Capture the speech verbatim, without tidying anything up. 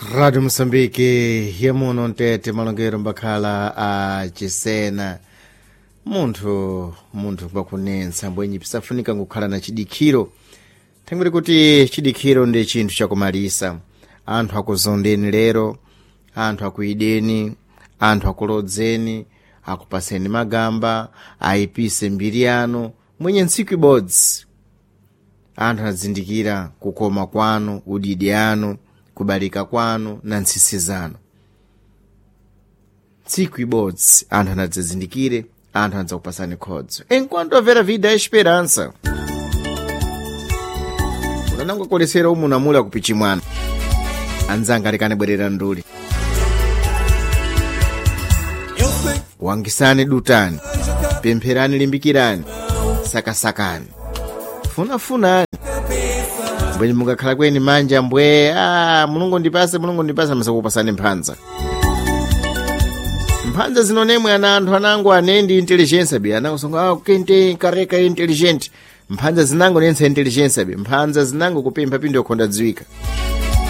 Rádio Moçambique, yamuno mtete malongero mbakhala a chisena. Munthu munthu ngwakunensa mbwenyi pisafunika ngukhala na chidikhiro, thangwiri kuti chidikhiro ndi chinthu chakumalisa. Anthu akuzondeni lero, anthu akuideni, anthu akulodzeni, akupaseni magamba, ayipise mbiri yanu mwenye ntsiku ibodzi. Anthu anazindikira kukoma kwanu, udidi anu, kubalika kwanu na ntsisi zanu. Tsiku ibodzi anthu anadzazindikire, anthu anadzakupasani khodzo. Enquanto haver vida há esperança. Unanangokolesera umunamula kupichimwana. Anzanga alekane bwerera nduli. Wangisani dutani, pempherani limbikirani, sakasakani, funafunani. Mbwenye mungakhala kweni manja mbwe, ah, Mulungu ndipase, Mulungu ndipase, masakupasani mphanza. Mphanza zinonemwe ana anthu anango anendi intelligence bi anangosonga, ah, kente kareka intelligent. Mphanza zinango nensa intelligence bi, mphanza zinango kupempha pindo yokhonda dziwika.